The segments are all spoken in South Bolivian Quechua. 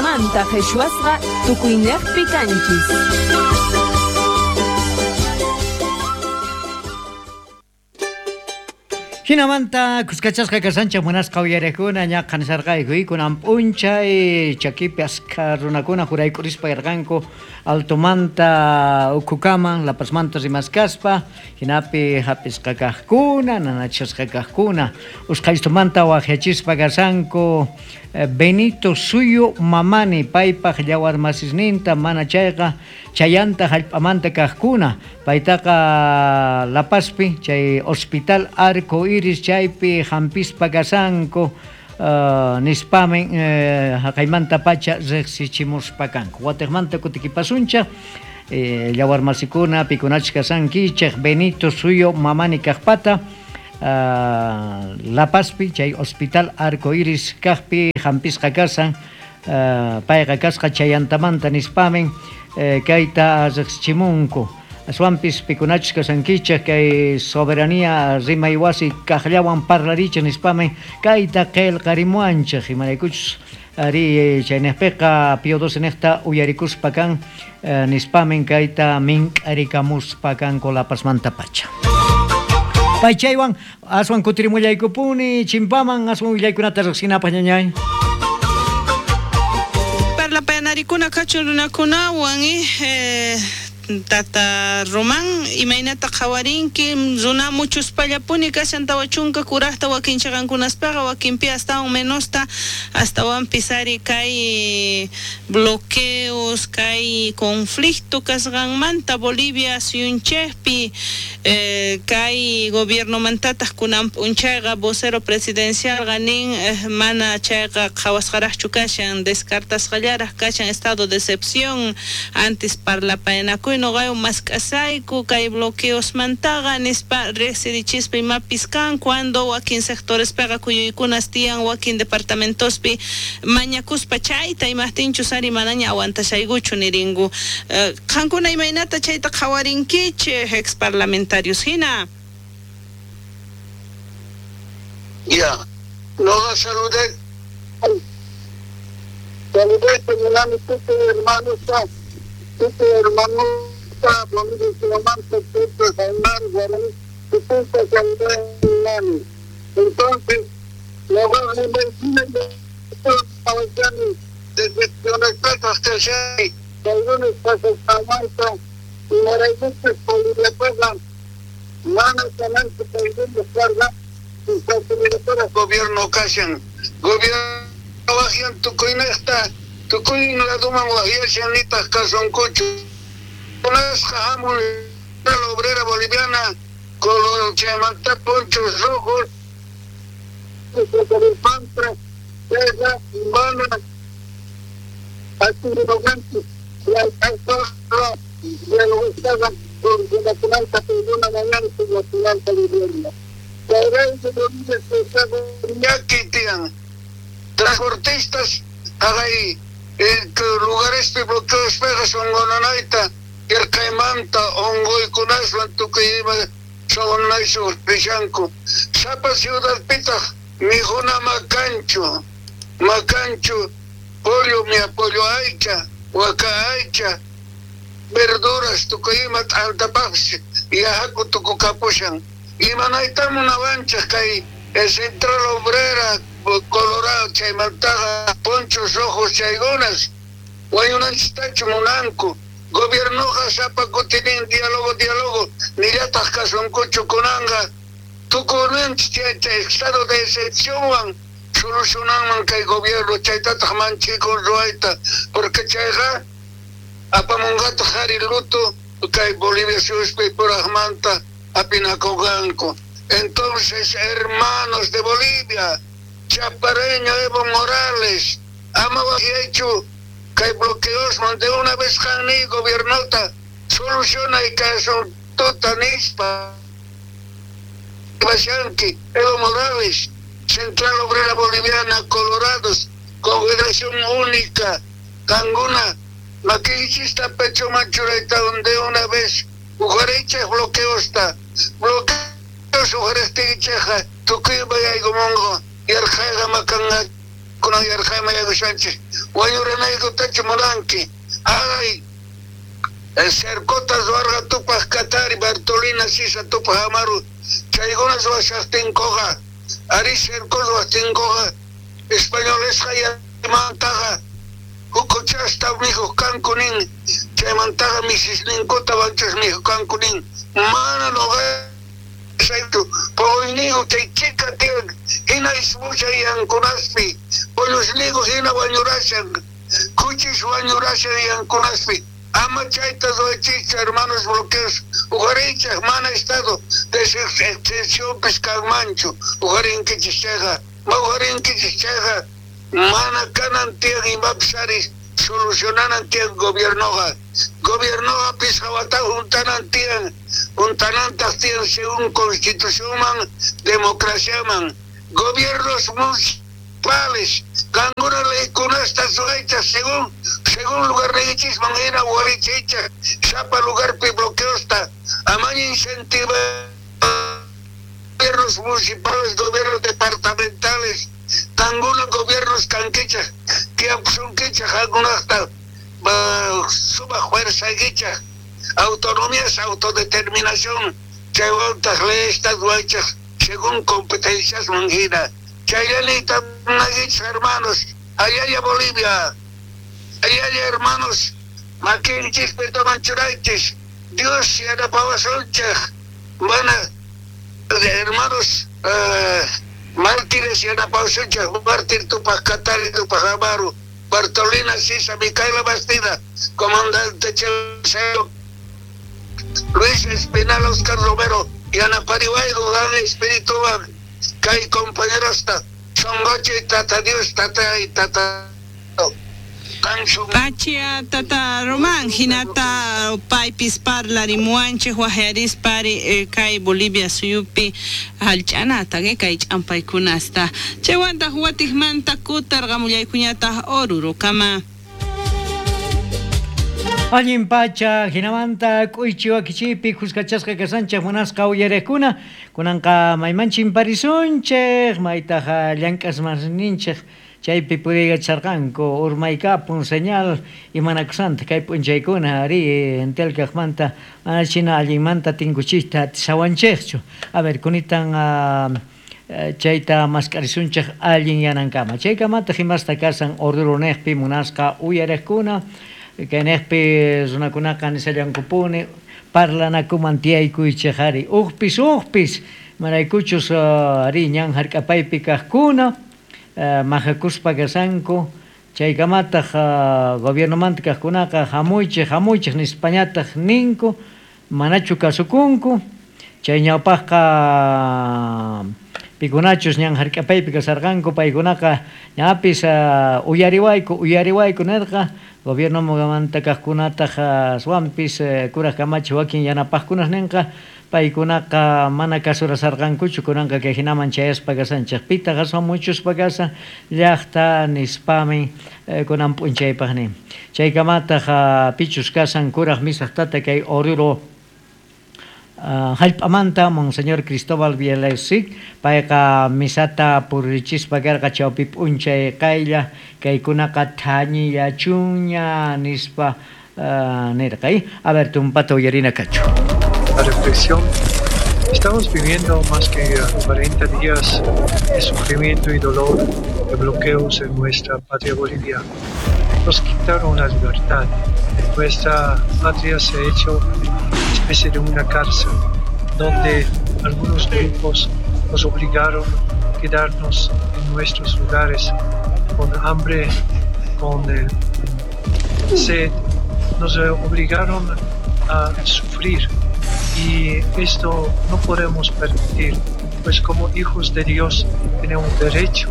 Manta qhichwasqa tukuynejpi kanchis. Jinamanta kuskachasqa kashanchej munasqa uyarejkuna ña qhanisharqayku kunan p'unchay chakipi askha runakuna jurayk'urispa yarqanku altomanta ukhukaman La Pazmanta rimaskaspa jinapi hap'isqa kajkuna nanachisqa kajkuna usqhaystumanta wajyachispa kashanku Benito Suyu Mamani paypaj llawarmasisninta mana chayqa chayanta jallp'amanta kajkuna paytaqa La Pazpi chay Hospital Arco Iris chaypi jampispa kashanku nispamin jaqaymantapacha rejsichimuspa kanku watejmanta kutikipasunchej llawarmasikuna pikunachus kashankichej Benito Suyu Mamani kajpata La Pazpi chay Hospital Arco Iris kajpi jampisqa kashan payqa kasqa chayantamanta nispamin kayta rejsichimunku aswanpis pikunachus kashankichej kay soberanía rimay wasi kajllawan parlarichej nispamin kayta qhelqarimuwanchej imaraykuchus ari chaynejpeqa Pío XII nejta uyarikuspa kan nispamin kayta mink'arikamuspa kanku La Pazmantapacha. Paychaywan aswan kutirimullaykupuni chimpaman aswan willaykunata riqsinapaq ñañay. Parlapayanarikuna kachun runakunawan Tata Román, imaynata qhawarinki runa muchuspallapuni kashan 40 kurajta wakin chaqankunaspaqa wakinpi astawan menosta astawanpis ari kay bloqueos kay conflicto kasqanmanta Bolivia suyunchejpi kay gobiernomantataq kunan p'unchayqa vocero presidencialqa nin mana chayqa qhawasqaraqchu kashan descartasqallaraq kashan estado de excepción antes parlapayanakuy noqaywan mask'asayku kay bloqueosmantaqa nispa riqsirichispa imapis kan cuando wakin sectorespeqa kuyuykunas tiyan wakin departamentospi mañakuspa chayta imajtinchus ari manaña aguantashaykuchu nirinku qankuna imaynata chayta qhawarinkichej ex parlamentarios hina. Ya, noqa saludé saludé munani tukuy hermanosta tukuy hermanosta Bolivia tukuy Jaimar Guaraní tukuyta saludé munani. Entonces noqa decepcionasqataj kashani kay pasasqanmanta imaraykuchus Boliviapaqa mana kananchu kay karqa gobierno kashan gobierno wajyan tukuynejta tukuy laduman wajyashan nitaj kasunkuchu kunasqa hamun la obrera boliviana color chaymanta ponchos rojos mana Transportistas hagay lugarespi bloqueospeqa sonqonanayta yarqaymanta onqoykunaswan tukuy ima sonqonaysu rishanku sapa ciudadpitaq mikhuna makanchu makanchu pollo mia pollo aycha waka aycha verduras tukuy ima t'antapaqpis yahaku tukukapushan imanayta munawanchej kay Central Obrera Colorado chaymantaqa ponchos rojos chaykunas wañunanchistachu munanku gobiernoqa sapa kutinin diálogo diálogo nillataq kasunkuchu kunanqa tukunanchik chay estado de excepcionwan solucionanman kay gobierno chaytataq manchikun ruwayta porque chayqa apamunqataq ari luto kay Bolivia suyuspi purajmanta apinakunqanku. Entonces, hermanos de Bolivia, Chapareño Evo Morales, ama wajyaychu kay bloqueosman de una vez qanni gobiernota soluciona y kay asuntuta nispa Bashanki, Evo Morales, Central Obrera Boliviana, Colorados, Confederación Única, Canguna, maquillichista pecho machurayta de una vez, ujarecha bloqueosta, bloqueos ujaresticheja, tukuy bayaykumunqa, yarqayqa makanqa Kunan yarqayman yaykushanchej. Wañuranaykutachu munanki? Ay, cercota ruwarqa Tupaj Katari, Bartolina Sisa, Tupaj Amaru, chaykuna ruwashajtinkoqa, ari cerco ruwajtinkoqa, españolesqa yaymantaqa huk'uchasta mikhuj kanku nin, chaymantaqa misisninkuta wanchas mikhuj kanku nin, mana noqaychu poqoyniyku chay chika tiyan, hina ismushan yankunaspi, pollusniyku hina wañurashan, kuchis wañurashan yankunaspi. Ama chayta ruwaychikchu, hermanos bloqueos, uqhariychej mana estado de excepcionpis kanmanchu, uqharinkichis chayqa, ma uqharinkichis chayqa, mana kanan tiyan imapis ari solucionanan tiyan gobiernoqa. Gobiernoqa pisqa wata juntanan tiyan, juntanantaq tiyan según constitucionman, democraciaman. Gobiernos municipales, qankuna leykunasta ruwaychej según lugarniykichisman hina warichiychej sapa lugarpi bloqueosta, amaña incentiva gobiernos municipales, gobiernos departamentales, qankuna gobiernos kankichej, tiyapusunkichej qankunajta sumaq fuerzaykichej, autonomías, autodeterminación, chaywantaq leyesta ruwaychej según competenciasman hina. Chayllanita nagichej, hermanos, allalla Bolivia, allalla hermanos, makinchikpi tomanchuraychis, Dios yanapawasunchej, mana hermanos mártires yanapawasunchej, mártir Tupaj Katari, Tupaj Amaru, Bartolina Sisa, Micaela Bastida, comandante Chelo, Luis Espinal, Oscar Romero, yanapariwayku, gan espirituwan, kay compañerosta, songochi, tata Dios, tata y tata. Pachia tata Román, hinata paypis parlarimuwanchej wajyarispari kay Bolivia suyupi hallch'anata kay ch'ampaykunasta. Chaywantaq watijmanta kutarqamullaykuñataq Orurokama. Allin pacha, hinamanta k'uychi wakichiypi khuskachasqa kasanchej munasqa uyariqkuna, kunanqa mayman chimparisunchej, maytaq llank'asmasninchej chaypi puriykacharqanku urmaykapun señal imanakusanta kay p'unchaykuna ari Entel kaqmanta mana china allinmanta tinkuchiyta atisawanchejchu. A ver, kunitan chayta mask'arisunchej allin yanankama. Chaykamataq imasta kasan Oruro neqpi munasqa uyariqkuna, kayneqpi runakunaqa nisallankupuni parlanakuman tiyaykuychej ari uqpis uqpis maraykuchus ari ñan hark'apaypi kaqkuna majakuspa kasanku chaykamataq gobiernomanta kaqkunaqa hamuychej hamuychej nispañataq ninku manachu kasukunku chay ñawpaqqa pikunachus ñan hark'apaypi kasarqanku paykunaqa ñapis uyariwayku uyariwayku nirqa gobiernomanta kaqkunataq aswanpis kuraq kamachi wakin yanapaqkunas ninqa paykunaqa mana kasurasarqankuchu kunanqa kay hinaman chayaspa kasanchej pitaq aswan muchuspa kasan llaqta nispami kunan p'unchaypaq nin chaykamataq pichus kasan kuraq misaq tata kay Oruro hallp'amanta Monseñor Cristóbal Bielesic payqa misata purichispa karqa chawpi p'unchay qaylla kaykunaqa thañillachuña nispa nirqa. A ver, tumpata uyarina kachu. La reflexión. Estamos viviendo más que 40 días de sufrimiento y dolor, de bloqueos en nuestra patria Bolivia. Nos quitaron la libertad. Nuestra patria se ha hecho una especie de una cárcel, donde algunos grupos nos obligaron a quedarnos en nuestros lugares con hambre, con sed. Nos obligaron a sufrir. Y esto no podemos permitir, pues como hijos de Dios tenemos derecho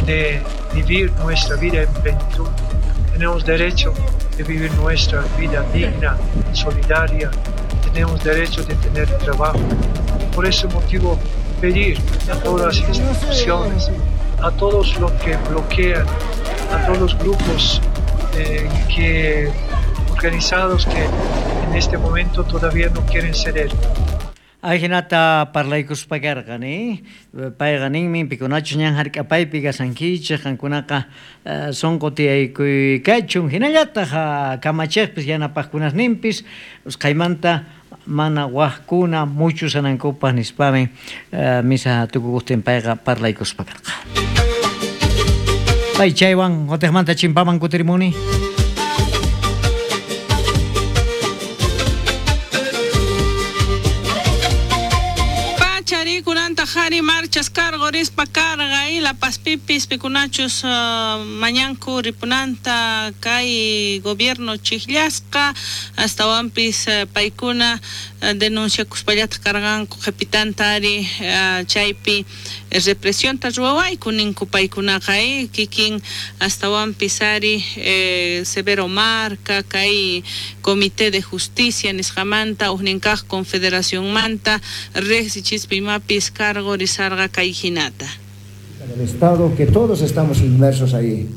de vivir nuestra vida en plenitud, tenemos derecho de vivir nuestra vida digna, solidaria, tenemos derecho de tener trabajo. Por ese motivo, pedir a todas las instituciones, a todos los que bloquean, a todos los grupos que organizados que en este momento todavía no quieren ceder. Ajinata parlaykuspa karqa ni payqa ninmi pikunachus ñan hark'apaypi kasankichik qankunaqa sunqu tiyaykuy kachun hinallataq kamachiqpis yanapaqkunasninpis usqhaymanta mana waqkuna muchusanankupaq nispami misa tukukuqtin payqa parlaykuspa karqa. Pay chaywan watiqmanta chimpaman kutirimuni. Kunanta qhari marchas cargo rispa carga y La Pazpipis pikunachus mañanku ripunanta kay gobierno chijllasqa astawanpis paykuna denunciakuspallataq karqanku qhipitanta ari chaypi represionta ruwawayku ninku paykunaqa kikin astawanpis ari Severo Marca kay Comité de Justicia nisqamanta ujninkaq Confederacionmanta riqsichispa imapis cargo risarqa kay hinata. Del Estado, que todos estamos inmersos ahí.